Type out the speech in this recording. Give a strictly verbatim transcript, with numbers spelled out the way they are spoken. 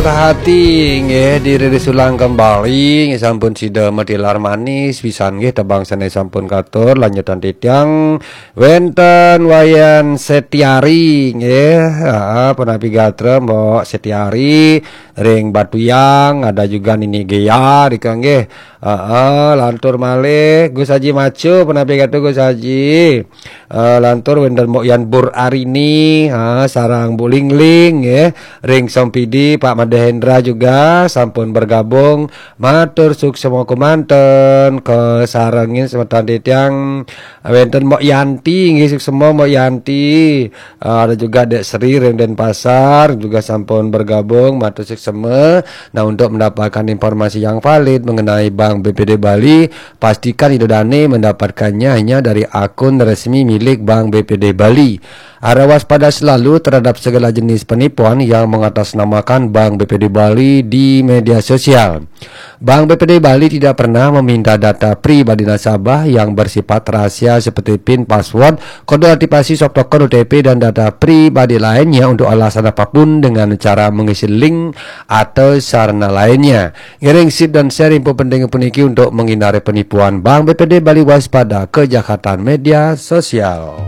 Perhati nggih, diri disulang kembali nggih, sampun sida matilar manis pisan nggih, tebang sané sampun katur, lanjutan titiang wénten Wayan Setiari nggih. Heeh, punapi gatra Mbok Setiari ring Batuyang, ada juga Nini Gea rika nggih. Heeh, lantur malih Gus Haji Macu, punapi gatra Gus Haji. Eh, lantur wénten Mbok Yan Bur Arini, ha, sareng Bu Lingling, nggih. Ring Sompidi, Pak Made Hendra juga sampun bergabung. Matur suksma kemanten, kasarengin semeton titiang. Wénten Mbok Yanti, nggih, suksma Mbok Yanti. Eh, ada juga Dek Sri ring Denpasar juga sampun bergabung. Matur suksma. Nah, untuk mendapatkan informasi yang valid mengenai Bank B P D Bali, pastikan Ida Dane mendapatkannya hanya dari akun resmi milik Bank B P D Bali. Harap waspada selalu terhadap segala jenis penipuan yang mengatasnamakan Bank B P D Bali di media sosial. Bank B P D Bali tidak pernah meminta data pribadi nasabah yang bersifat rahasia seperti pin, password, kode aktivasi, soft token, O T P, dan data pribadi lainnya untuk alasan apapun dengan cara mengisi link atau sarana lainnya. Ngiring sip dan share info penting puniki untuk menghindari penipuan. Bank B P D Bali, waspada kejahatan media sosial.